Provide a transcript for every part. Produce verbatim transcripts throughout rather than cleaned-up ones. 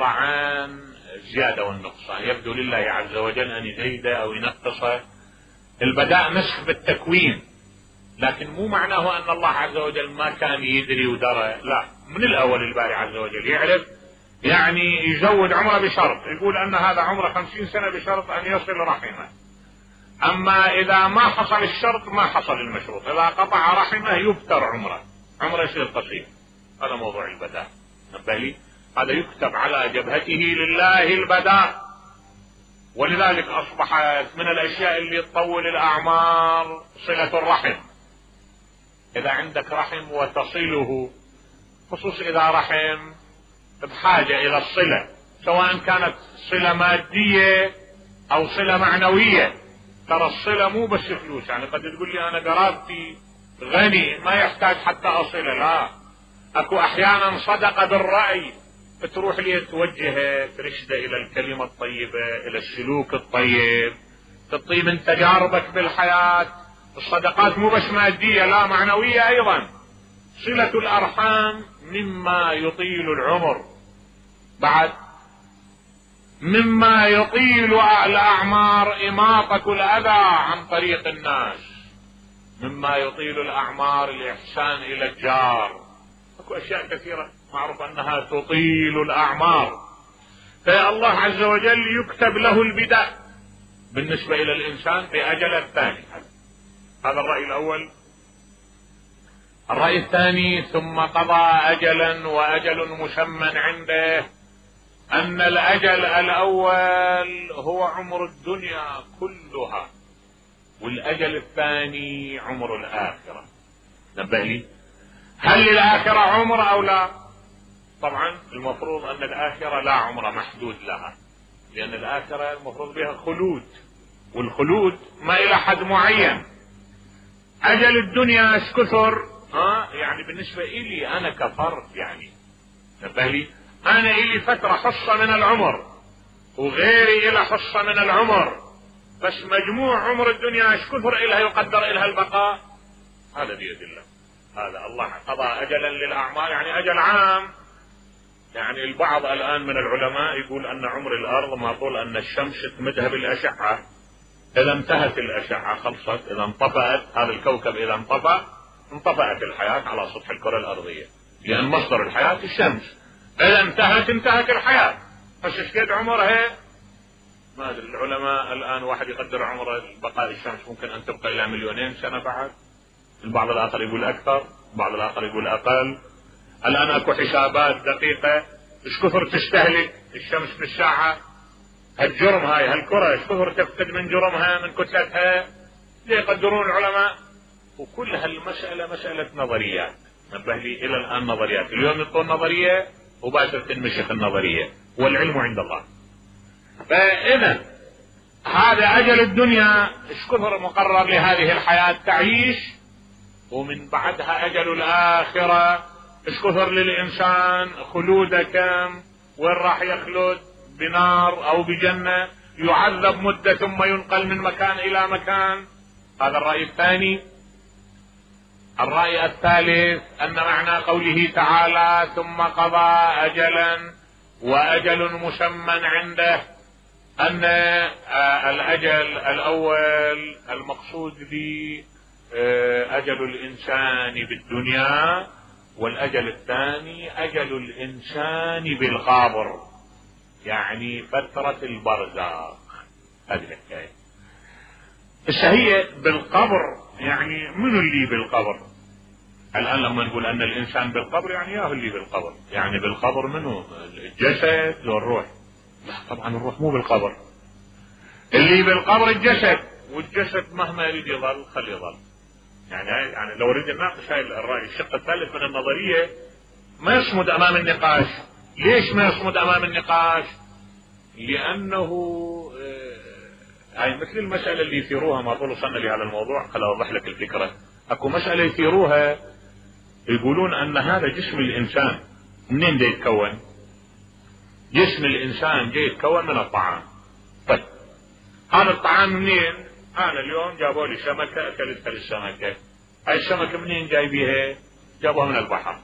عبارة عن زيادة والنقصان، يبدو لله عز وجل أن يزيده أو ينقصه. البداء نسخ بالتكوين، لكن مو معناه أن الله عز وجل ما كان يدري ودرى، لا، من الأول الباري عز وجل يعرف. يعني يزود عمره بشرط، يقول أن هذا عمره خمسين سنة بشرط أن يصل رحمه. أما إذا ما حصل الشرط ما حصل المشروط، إذا قطع رحمه يفتر عمره، عمره يصير قصير. هذا موضوع البداء، نبه لي، هذا يكتب على جبهته لله البداء. ولذلك أصبحت من الأشياء اللي تطول الأعمار صلة الرحم. إذا عندك رحم وتصله، خصوص إذا رحم بحاجة إلى الصلة، سواء كانت صلة مادية أو صلة معنوية. ترى الصلة مو بس فلوس، يعني قد تقول لي أنا قرابتي غني ما يحتاج حتى أصلة، لا، أكو أحيانا صدقة بالرأي، تروح لي توجهه ترشده إلى الكلمة الطيبة، إلى السلوك الطيب، تطيب من تجاربك بالحياة. الصدقات مو بس مادية، لا، معنوية أيضا. صلة الأرحام مما يطيل العمر، بعد مما يطيل الأعمار إماطة الأذى عن طريق الناس، مما يطيل الأعمار الإحسان إلى الجار. أكو أشياء كثيرة معروف أنها تطيل الأعمار. فالله عز وجل يكتب له البداء بالنسبة إلى الإنسان بأجل الثاني. هذا الرأي الأول. الرأي الثاني: ثم قضى أجلا وأجل مسمى عنده، أن الأجل الأول هو عمر الدنيا كلها، والأجل الثاني عمر الآخرة. نبه لي، هل للآخرة عمر أو لا؟ طبعا المفروض أن الآخرة لا عمر محدود لها، لأن الآخرة المفروض بها خلود، والخلود ما إلى حد معين. أجل الدنيا ايش كثر؟ ها يعني بالنسبة إلي أنا كفرد، يعني نبه لي، أنا إلي فترة حصة من العمر وغيري إلى حصة من العمر، بس مجموع عمر الدنيا ايش كثر إلها يقدر إلها البقاء؟ هذا بيد الله. هذا الله قضى أجلا للأعمال، يعني أجل عام. يعني البعض الآن من العلماء يقول أن عمر الأرض ما طول أن الشمس تمدها بالأشعة، إذا انتهت الأشعة خلصت، إذا انطفأت هذا الكوكب، إذا انطفأ انطفأت الحياة على سطح الكرة الأرضية، لأن مصدر الحياة الشمس. إذا انتهت انتهت الحياة. بس ايش قد عمرها؟ ما أدري. العلماء الآن واحد يقدر عمر بقاء الشمس ممكن أن تبقى إلى مليونين سنة بعد، البعض الآخر يقول أكثر، البعض الآخر يقول أقل. الآن أكو حسابات دقيقة ايش كثر تستهلك الشمس بالساعة، هالجرم هاي هالكرة ايش كثر تفقد من جرمها من كتلتها، يقدرون العلماء. وكل هالمسألة مسألة نظريات، نبه لي، إلى الآن نظريات. اليوم يطول نظرية وباشر تنمشخ النظرية، والعلم عند الله. فإذا هذا أجل الدنيا ايش كثر مقرر لهذه الحياة تعيش، ومن بعدها أجل الآخرة ايش كثر للإنسان خلوده كم، وين راح يخلد، بنار أو بجنة، يعذب مدة ثم ينقل من مكان إلى مكان. هذا الرأي الثاني. الرأي الثالث أن معنى قوله تعالى ثم قضى أجلا وأجل مسمى عنده، أن الأجل الأول المقصود به أجل الإنسان بالدنيا، والأجل الثاني أجل الإنسان بالقبر، يعني فترة البرزخ. هذه الحكاية. الشهية بالقبر، يعني من اللي بالقبر؟ الآن لما نقول أن الإنسان بالقبر يعني ياهو اللي بالقبر، يعني بالقبر منه الجسد لو الروح؟ لا طبعا الروح مو بالقبر، اللي بالقبر الجسد، والجسد مهما يريد يظل خليه يظل. يعني يعني لو اريد نناقش هاي الرأي الشق الثالث من النظرية ما يصمد أمام النقاش. ليش ما يصمد أمام النقاش؟ لأنه هاي مثل المسألة اللي يثيروها، ما طول وصلنا لهذا الموضوع، خل أوضح لك الفكرة. أكو مسألة يثيروها يقولون أن هذا جسم الإنسان منين جاي يتكون؟ جسم الإنسان جاي يتكون من الطعام. طيب هذا الطعام منين؟ أنا اليوم جابوا لي سمكة أكلت السمكة، هاي السمكة منين جاي بيها؟ جابوها من البحر.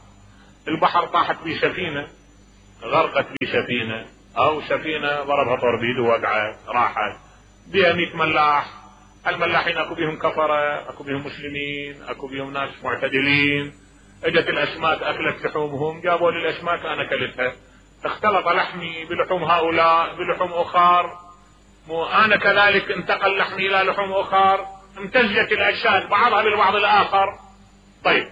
البحر طاحت بي سفينة غرقت بسفينة او سفينة ضربها طوربيد ووقعت راحت بها مئة ملاح، الملاحين اكو بيهم كفرة، اكو بيهم مسلمين، اكو بيهم ناس معتدلين. اجت الاسماك اكلت لحومهم، جابوا لي الاسماك انا اكلتها، اختلط لحمي بلحوم هؤلاء بلحوم اخر، وانا كذلك انتقل لحمي الى لحوم اخر، امتزجت الاجساد بعضها بالبعض الاخر. طيب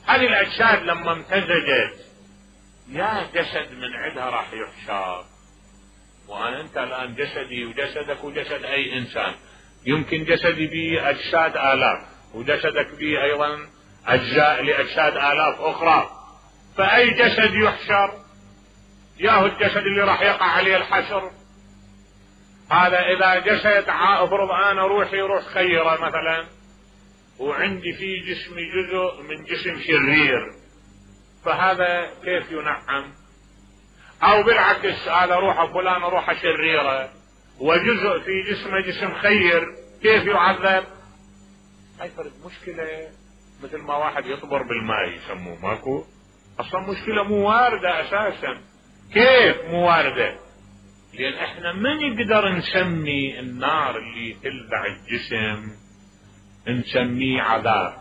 هذه الاجساد لما امتزجت يا جسد من عندها راح يحشر، وانا انت الان جسدي وجسدك وجسد اي انسان، يمكن جسدي به اجساد الاف وجسدك به ايضا اجزاء لاجساد الاف اخرى، فاي جسد يحشر؟ ياهو الجسد اللي راح يقع عليه الحشر. هذا اذا جسد افرض انا روحي روح خيرة مثلا وعندي في جسمي جزء من جسم شرير، فهذا كيف ينعم؟ او بالعكس هذا روح فلان روحه شريرة وجزء في جسمه جسم خير، كيف يعذب؟ هاي فرد مشكلة مثل ما واحد يطبر بالماء يسموه، ماكو اصلا مشكلة مو واردة اساسا. كيف مو واردة؟ لان احنا ما نقدر نسمي النار اللي تلذع الجسم نسميه عذاب.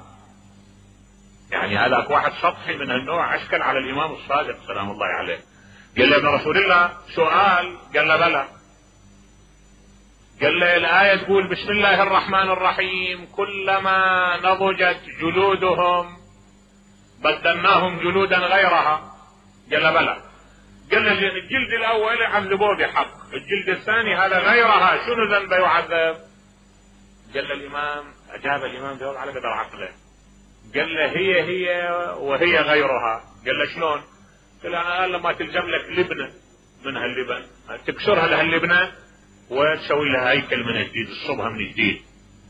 يعني هذاك واحد سطحي من النوع اشكل على الامام الصادق سلام الله عليه، قال له ابن رسول الله سؤال، قال له بلى، قال له الآية تقول بسم الله الرحمن الرحيم كلما نضجت جلودهم بدلناهم جلودا غيرها، قال له بلى، قال له الجلد الاول عذبوه بحق، الجلد الثاني هذا غيرها شنو ذنبه يعذب؟ قال له الامام، اجاب الامام جواب على قدر عقله، قال له هي هي وهي غيرها. قال له شلون؟ قال له انا لما تلزم لك لبنه من هاللبن تكسرها لهاللبنه وتسوي لها هيكل من جديد تصبها من جديد،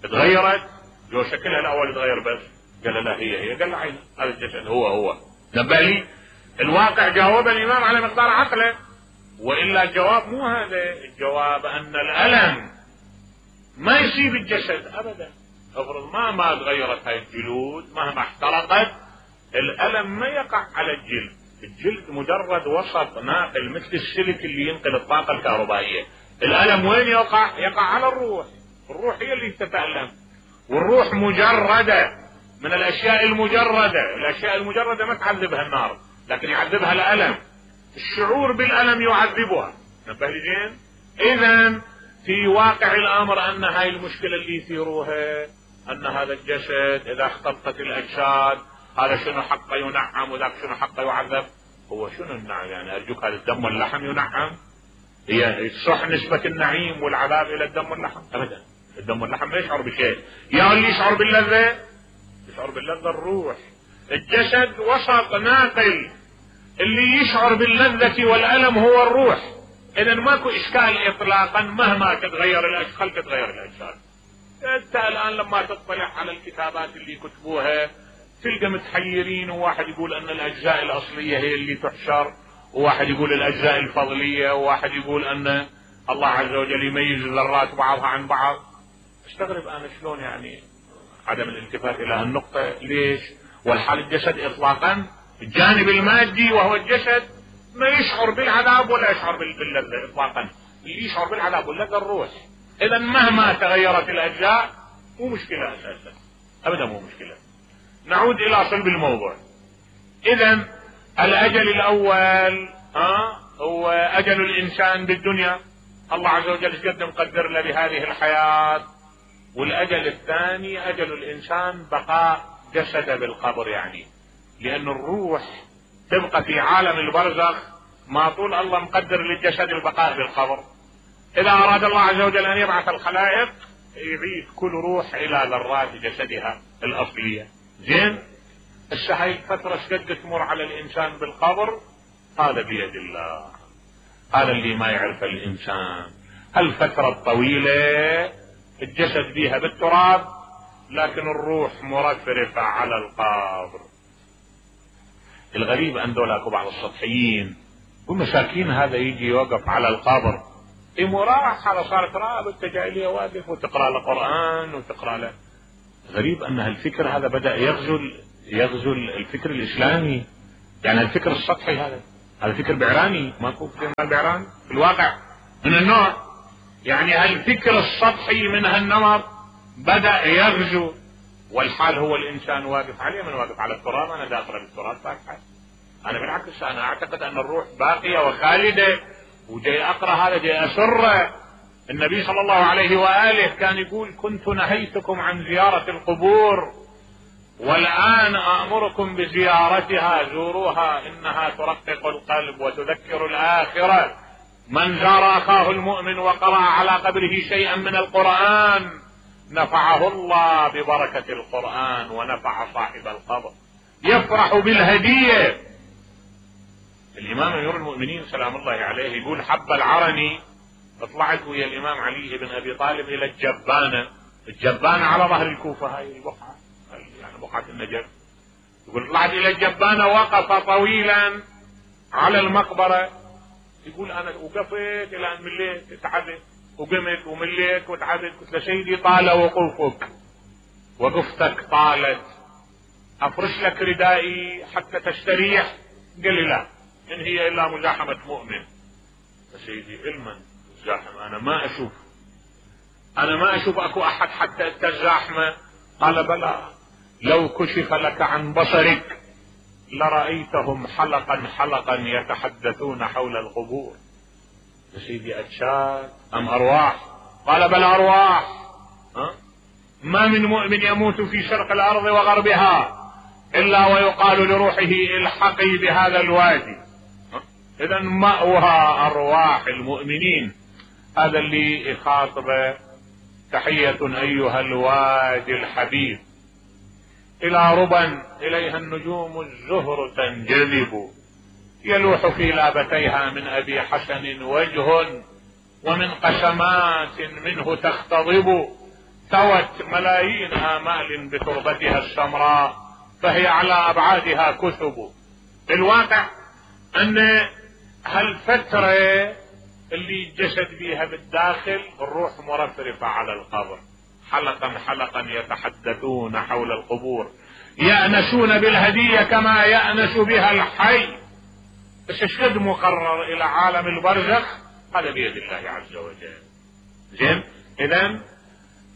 تغيرت جو شكلها الاول تغير بس. قال له لا هي هي. قال له عين هذا الجسد هو هو. نبه لي الواقع جاوب الامام على مقدار عقله، والا الجواب مو هذا، الجواب ان الالم ما يصيب الجسد ابدا. افرض ما ما تغيرت هاي الجلود مهما احترقت الالم ما يقع على الجلد، الجلد مجرد وسط ناقل مثل السلك اللي ينقل الطاقة الكهربائية. الالم وين يقع؟ يقع على الروح، الروح هي اللي تتألم، والروح مجردة من الاشياء المجردة، الاشياء المجردة ما تعذبها النار لكن يعذبها الالم، الشعور بالالم يعذبها. نبه لي زين؟ اذا في واقع الامر ان هاي المشكلة اللي يثيروها ان هذا الجسد اذا اختلطت الاجساد هذا شنو حقه ينعم وذاك شنو حقه يعذب. هو شنو النعم؟ يعني ارجوك هذا الدم واللحم ينعم؟ هي صح نسبة النعيم والعذاب الى الدم واللحم؟ ابدا، الدم واللحم ما يشعر بشيء. يا اللي يشعر باللذة يشعر باللذة الروح، الجسد وسط ناقل، اللي يشعر باللذة والألم هو الروح. اذا ماكو اشكال اطلاقا مهما تتغير الاشكال تتغير الاجساد. انت الان لما تطلع على الكتابات اللي كتبوها تلقى متحيرين، وواحد يقول ان الاجزاء الاصلية هي اللي تحشر، وواحد يقول الاجزاء الفضلية، وواحد يقول ان الله عز وجل يميز الذرات بعضها عن بعض. استغرب انا شلون يعني عدم الالتفات الى هالنقطة. ليش؟ والحال الجسد اطلاقا الجانب المادي وهو الجسد ما يشعر بالعذاب ولا يشعر باللذة اطلاقا، اللي يشعر بالعذاب واللذة الروح. اذا مهما تغيرت الاجزاء مو مشكلة اساسا، ابدا مو مشكلة. نعود الى صلب الموضوع. اذا الاجل الاول ها هو اجل الانسان بالدنيا، الله عز وجل قد مقدر له بهذه الحياة. والاجل الثاني اجل الانسان بقاء جسده بالقبر، يعني لان الروح تبقى في عالم البرزخ ما طول الله مقدر للجسد البقاء بالقبر. اذا اراد الله عز وجل ان يبعث الخلائق يعيد كل روح الى ذرات جسدها الاصلية. زين، هسه هاي الفترة قد تمر على الانسان بالقبر هذا بيد الله، هذا اللي ما يعرف الانسان. هالفترة الطويلة الجسد بيها بالتراب لكن الروح مرفرفة على القبر. الغريب ان دولاكو بعض السطحيين ومساكين هذا يجي يوقف على القبر امراح على صارت راب انت جاي لي واقف وتقرا له قران وتقرا له. غريب ان هالفكر هذا بدا يغزو يغزو الفكر الاسلامي، يعني الفكر السطحي هذا هذا فكر بعراني، ماكو فكر مال بعراني في الواقع من النوع. يعني هالفكر السطحي من هالنمط بدأ يغزو، والحال هو الانسان واقف عليه. من واقف على التراب؟ انا داخل بالتراب فاتحة. انا بالعكس انا اعتقد ان الروح باقية وخالدة، وجاي اقرأ هذا جاي اسره. النبي صلى الله عليه وآله كان يقول كنت نهيتكم عن زيارة القبور والآن آمركم بزيارتها، زوروها إنها ترقق القلب وتذكر الآخرة. من زار أخاه المؤمن وقرأ على قبره شيئا من القرآن نفعه الله ببركة القرآن ونفع صاحب القبر. يفرح بالهدية. الإمام أمير المؤمنين سلام الله عليه يقول حب العرني طلعت ويا الإمام علي بن أبي طالب إلى الجبانة. الجبانة على ظهر الكوفة، هاي البقعة يعني بقعة النجف. يقول طلعت إلى الجبانة وقف طويلا على المقبرة. يقول أنا وقفت إلى أن مليت تعبت وقمت ومليت وتعبت. قلت له سيدي طال وقوفك وقفتك طالت، أفرش لك ردائي حتى تستريح؟ قال لي لا، إن هي إلا مزاحمة مؤمن. سيدي علما زاحم انا ما اشوف انا ما اشوف اكو احد حتى تزاحمه. قال بلى، لو كشف لك عن بصرك لرأيتهم حلقا حلقا يتحدثون حول القبور. يا سيدي اجساد ام ارواح؟ قال بل ارواح. ها؟ ما من مؤمن يموت في شرق الارض وغربها الا ويقال لروحه الحقي بهذا الوادي. اذا مأوها ارواح المؤمنين. هذا اللي يخاطبه تحية ايها الوادي الحبيب الى ربا اليها النجوم الزهر تنجذب، يلوح في لابتيها من ابي حسن وجه ومن قسمات منه تختضب، ثوت ملايين امال بتربتها السمراء فهي على ابعادها كثب. الواقع ان هالفترة اللي جسد بيها بالداخل الروح مرفرفة على القبر، حلقا حلقا يتحدثون حول القبور، يأنسون بالهدية كما يأنس بها الحي. بس الشد مقرر الى عالم البرزخ هذا بيد الله عز وجل. زين، اذن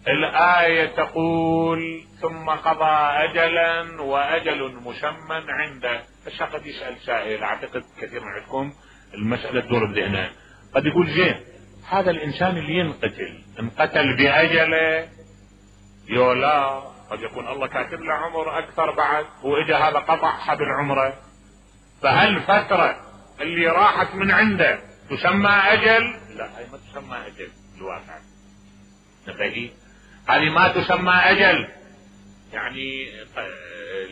الآية تقول ثم قضى اجلا واجل مسمى عنده. بس قد يسأل سائل، اعتقد كثير من عندكم المسألة تدور بذهنه، قد يقول زين هذا الانسان اللي ينقتل انقتل باجله يولا، قد يكون الله كاتب له عمر اكثر بعد واجا هذا قطع حبل عمره، فهل فترة اللي راحت من عنده تسمى اجل؟ لا، هاي ما تسمى اجل الواقع. نبهي هذه ما تسمى اجل. يعني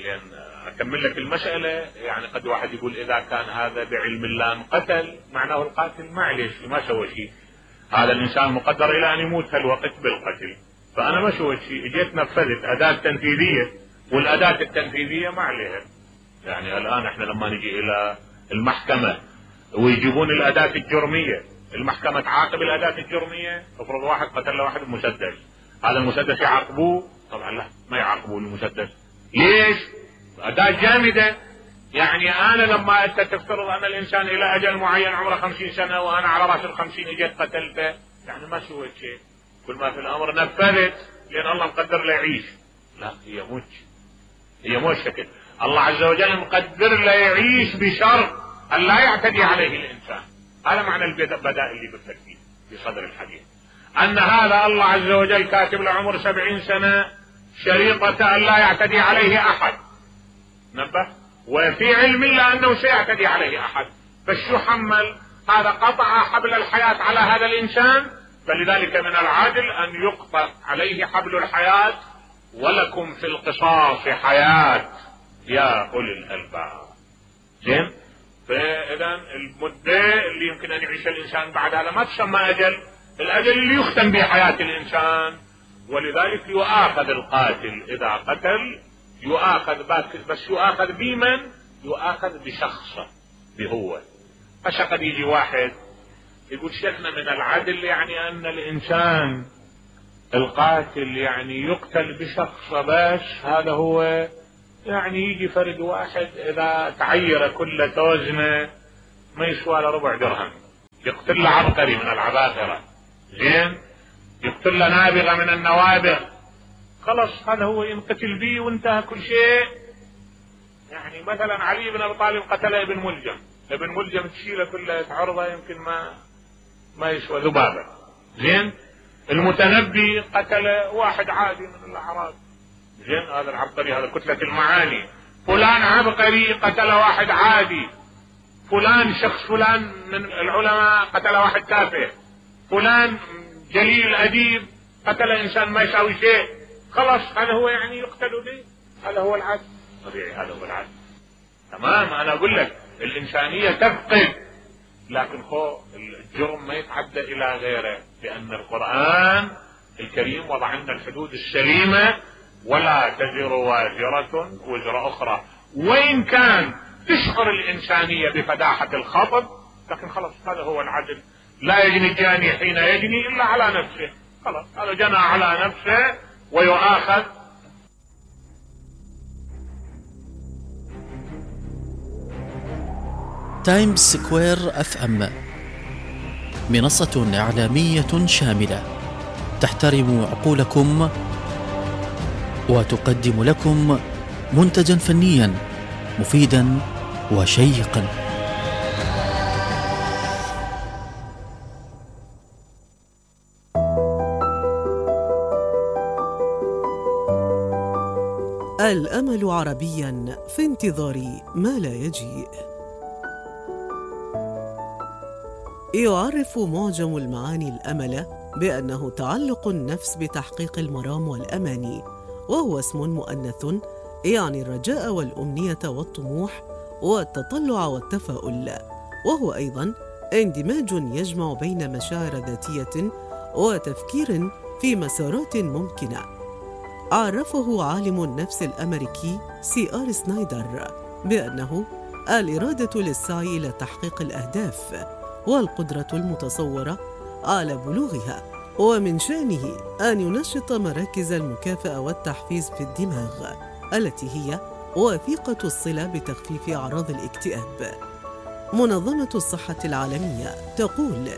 لان اكمل لك المسألة، يعني قد واحد يقول اذا كان هذا بعلم الله انقتل معناه القاتل معلش ما سوى شيء، هذا الانسان مقدر الى ان يموت هالوقت بالقتل، فانا ما سويت شيء، اجيت نفذت اداة تنفيذية والاداة التنفيذية ما عليها. يعني الان احنا لما نجي الى المحكمة ويجيبون الاداة الجرمية، المحكمة تعاقب الاداة الجرمية. افرض واحد قتل واحد بمسدس، هذا المسدس يعاقبوه؟ طبعا لا، ما يعاقبوه المسدس. ليش؟ اداة جامدة. يعني انا لما انت تفترض ان الانسان الى اجل معين عمره خمسين سنة وانا على راس الخمسين اجيت قتلته، يعني ما سويت شيء، كل ما في الامر نفذت لان الله مقدر له يعيش. لا، هي موت، هي مو شكل. الله عز وجل مقدر له يعيش بشرط ان لا يعتدي عليه الانسان. هذا معنى البداء اللي بالترتيب في صدر الحديث، ان هذا الله عز وجل كاتب له عمر سبعين سنة شريطة ان لا يعتدي عليه احد. نبه، وفي علم الله انه سيعتدي عليه احد، فشو حمل؟ هذا قطع حبل الحياة على هذا الانسان، فلذلك من العدل ان يقطع عليه حبل الحياة. ولكم في القصاص حياة يا اولي الالباب. زين، فاذا المدة اللي يمكن ان يعيش الانسان بعد هذا ما تسمى اجل، الاجل اللي يختم به حياة الانسان. ولذلك يؤاخذ القاتل اذا قتل، يؤاخذ بس يؤاخذ بمن؟ يؤاخذ بشخصه بهو. فشقد يجي واحد يقول شيخنا من العدل يعني ان الانسان القاتل يعني يقتل بشخصه بس، هذا هو يعني يجي فرد واحد اذا تعير كل توزنه ما يسوى له ربع درهم، يقتل له عبقري من العباقرة، زين، يقتل له نابغة من النوابغ، خلص هذا هو ينقتل به وانتهى كل شيء. يعني مثلا علي بن ابي طالب قتل ابن ملجم، ابن ملجم تشيله كله عرضه يمكن ما ما يسوى ذبابه، زين. المتنبي قتل واحد عادي من الاعراب، زين، هذا العبقري، هذا كتلة المعاني. فلان عبقري قتل واحد عادي، فلان شخص فلان من العلماء قتل واحد تافه، فلان جليل اديب قتل انسان ما يساوي شيء، خلاص هذا هو يعني يقتل به، هذا هو العدل طبيعي، هذا هو العدل. تمام. انا اقول لك الانسانية تفقد، لكن خو الجرم ما يتعدى الى غيره، لان القرآن الكريم وضع لنا الحدود السليمة، ولا تزر وازرة وزر اخرى، وان كان تشعر الانسانية بفداحة الخطب، لكن خلاص هذا هو العدل. لا يجني الجاني حين يجني الا على نفسه، خلاص هذا جنى على نفسه ويؤاخذ. تايمز سكوير اف ام منصة إعلامية شاملة تحترم عقولكم وتقدم لكم منتجا فنيا مفيدا وشيقا. الأمل عربيا في انتظار ما لا يجيء. يعرف معجم المعاني الأمل بأنه تعلق النفس بتحقيق المرام والأماني، وهو اسم مؤنث يعني الرجاء والأمنية والطموح والتطلع والتفاؤل، وهو أيضاً اندماج يجمع بين مشاعر ذاتية وتفكير في مسارات ممكنة. عرفه عالم النفس الأمريكي سي آر سنايدر بأنه الإرادة للسعي إلى تحقيق الأهداف والقدرة المتصورة على بلوغها، ومن شأنه أن ينشط مراكز المكافأة والتحفيز في الدماغ التي هي وثيقة الصلة بتخفيف أعراض الاكتئاب. منظمة الصحة العالمية تقول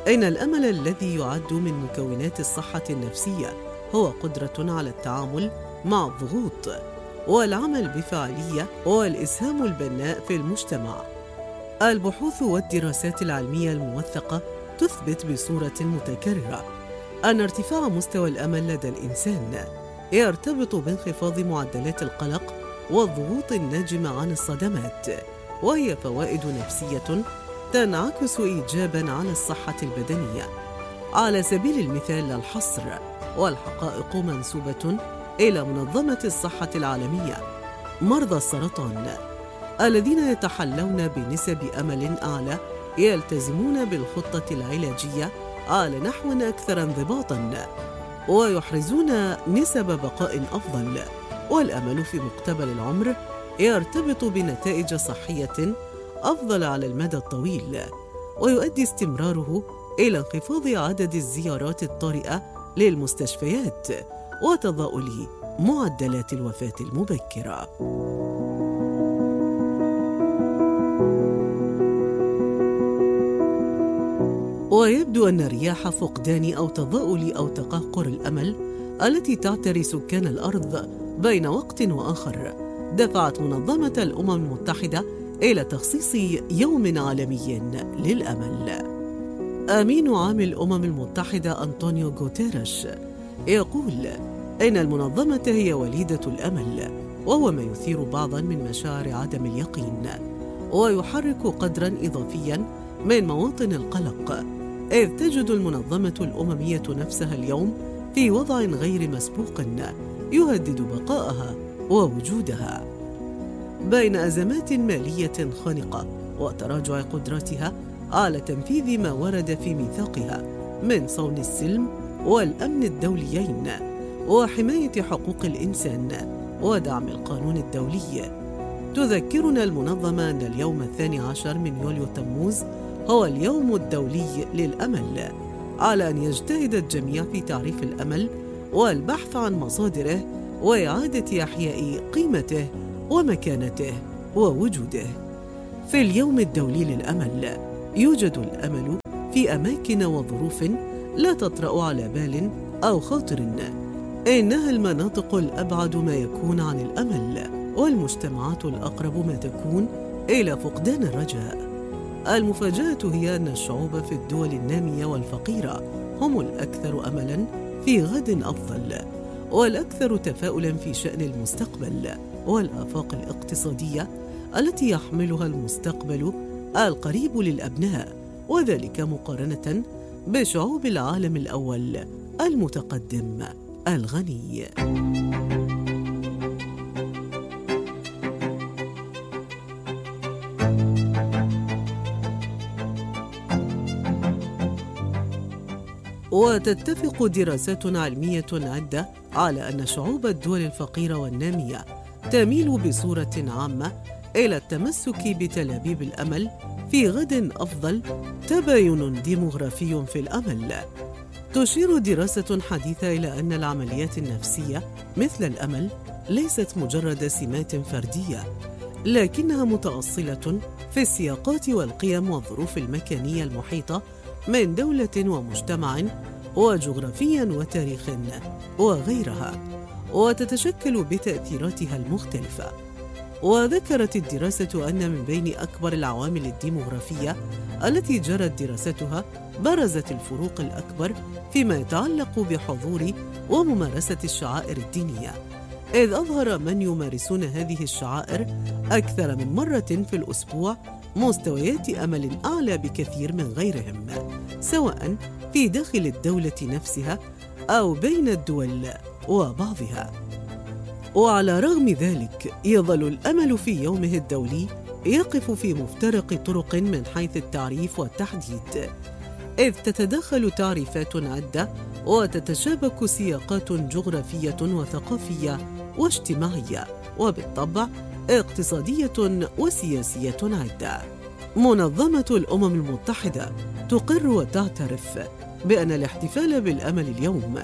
إن الأمل الذي يعد من مكونات الصحة النفسية هو قدرة على التعامل مع الضغوط والعمل بفاعلية والإسهام البناء في المجتمع. البحوث والدراسات العلمية الموثقة تثبت بصورة متكررة أن ارتفاع مستوى الأمل لدى الإنسان يرتبط بانخفاض معدلات القلق والضغوط الناجمة عن الصدمات، وهي فوائد نفسية تنعكس إيجاباً على الصحة البدنية. على سبيل المثال لا الحصر، والحقائق منسوبة إلى منظمة الصحة العالمية، مرضى السرطان الذين يتحلون بنسب أمل أعلى يلتزمون بالخطة العلاجية على نحو أكثر انضباطاً ويحرزون نسب بقاء أفضل. والأمل في مقتبل العمر يرتبط بنتائج صحية أفضل على المدى الطويل، ويؤدي استمراره إلى انخفاض عدد الزيارات الطارئة للمستشفيات وتضاؤل معدلات الوفاة المبكرة. ويبدو أن رياح فقدان أو تضاؤل أو تقهقر الأمل التي تعتري سكان الأرض بين وقت وآخر دفعت منظمة الأمم المتحدة إلى تخصيص يوم عالمي للأمل. أمين عام الأمم المتحدة أنطونيو غوتيريش يقول إن المنظمة هي وليدة الأمل، وهو ما يثير بعضاً من مشاعر عدم اليقين ويحرك قدراً إضافياً من مواطن القلق، إذ تجد المنظمة الأممية نفسها اليوم في وضع غير مسبوق يهدد بقائها ووجودها. بين أزمات مالية خانقة وتراجع قدراتها على تنفيذ ما ورد في ميثاقها من صون السلم والأمن الدوليين وحماية حقوق الإنسان ودعم القانون الدولي، تذكرنا المنظمة أن اليوم الثاني عشر من يوليو تموز هو اليوم الدولي للأمل، على أن يجتهد الجميع في تعريف الأمل والبحث عن مصادره وإعادة إحياء قيمته ومكانته ووجوده. في اليوم الدولي للأمل، يوجد الأمل في أماكن وظروف لا تطرأ على بال أو خاطر. إنها المناطق الأبعد ما يكون عن الأمل، والمجتمعات الأقرب ما تكون إلى فقدان الرجاء. المفاجأة هي أن الشعوب في الدول النامية والفقيرة هم الأكثر أملاً في غد أفضل، والأكثر تفاؤلاً في شأن المستقبل والآفاق الاقتصادية التي يحملها المستقبل القريب للأبناء، وذلك مقارنة بشعوب العالم الأول المتقدم الغني. وتتفق دراسات علمية عدة على أن شعوب الدول الفقيرة والنامية تميل بصورة عامة إلى التمسك بتلابيب الأمل في غد أفضل. تباين ديموغرافي في الأمل. تشير دراسة حديثة إلى أن العمليات النفسية مثل الأمل ليست مجرد سمات فردية، لكنها متأصلة في السياقات والقيم والظروف المكانية المحيطة من دولة ومجتمع وجغرافيا وتاريخ وغيرها، وتتشكل بتأثيراتها المختلفة. وذكرت الدراسة أن من بين أكبر العوامل الديموغرافية التي جرت دراستها برزت الفروق الأكبر فيما يتعلق بحضور وممارسة الشعائر الدينية، إذ أظهر من يمارسون هذه الشعائر أكثر من مرة في الأسبوع مستويات أمل أعلى بكثير من غيرهم، سواء في داخل الدولة نفسها أو بين الدول وبعضها. وعلى رغم ذلك يظل الأمل في يومه الدولي يقف في مفترق طرق من حيث التعريف والتحديد، إذ تتداخل تعريفات عدة وتتشابك سياقات جغرافية وثقافية واجتماعية، وبالطبع اقتصادية وسياسية عدة. منظمة الأمم المتحدة تقر وتعترف بأن الاحتفال بالأمل اليوم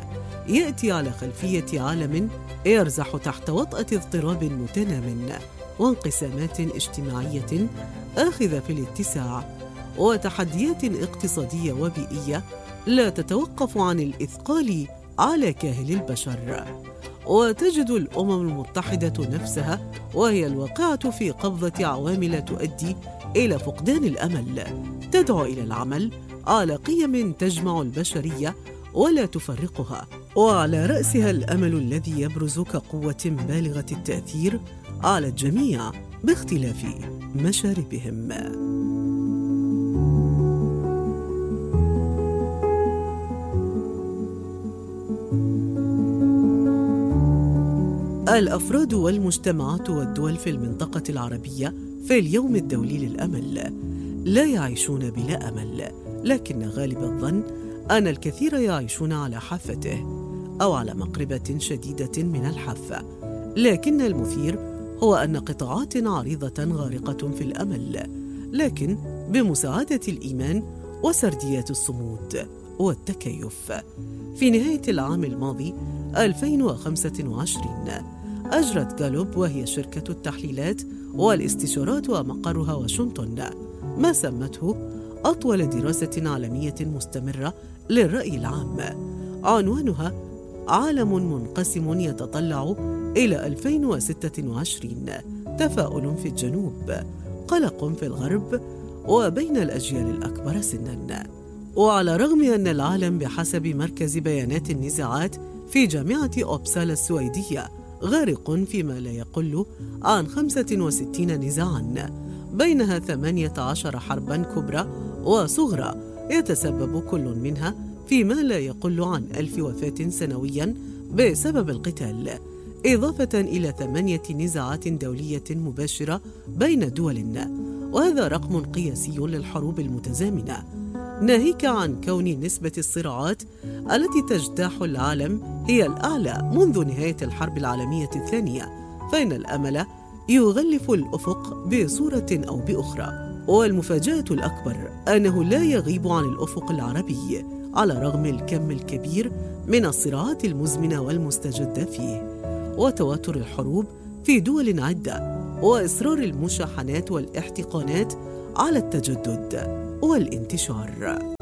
يأتي على خلفية عالم يرزح تحت وطأة اضطراب متنام وانقسامات اجتماعية آخذة في الاتساع، وتحديات اقتصادية وبيئية لا تتوقف عن الإثقال على كاهل البشر. وتجد الأمم المتحدة نفسها وهي الواقعة في قبضة عوامل تؤدي إلى فقدان الأمل، تدعو إلى العمل على قيم تجمع البشرية ولا تفرقها، وعلى رأسها الأمل الذي يبرز كقوة بالغة التأثير على الجميع باختلاف مشاربهم. الأفراد والمجتمعات والدول في المنطقة العربية في اليوم الدولي للأمل لا يعيشون بلا أمل، لكن غالب الظن أن الكثير يعيشون على حافته أو على مقربة شديدة من الحافة. لكن المثير هو أن قطاعات عريضة غارقة في الأمل، لكن بمساعدة الإيمان وسرديات الصمود والتكيف. في نهاية العام الماضي ألفين وخمسة وعشرين أجرت غالوب، وهي شركة التحليلات والاستشارات ومقرها واشنطن، ما سمته أطول دراسة عالمية مستمرة للرأي العام، عنوانها عالم منقسم يتطلع إلى ألفين وستة وعشرين، تفاؤل في الجنوب، قلق في الغرب، وبين الأجيال الأكبر سناً. وعلى رغم أن العالم بحسب مركز بيانات النزاعات في جامعة أوبسالا السويدية غارق فيما لا يقل عن خمسة وستين نزاعاً، بينها ثمانية عشر حرباً كبرى وصغرى يتسبب كل منها في ما لا يقل عن ألف وفاة سنوياً بسبب القتال، إضافة إلى ثمانية نزاعات دولية مباشرة بين دول، وهذا رقم قياسي للحروب المتزامنة، ناهيك عن كون نسبة الصراعات التي تجتاح العالم هي الأعلى منذ نهاية الحرب العالمية الثانية، فإن الأمل يغلف الأفق بصورة أو بأخرى. والمفاجأة الأكبر أنه لا يغيب عن الأفق العربي على رغم الكم الكبير من الصراعات المزمنة والمستجدة فيه وتواتر الحروب في دول عدة، وإصرار المشاحنات والاحتقانات على التجدد والانتشار.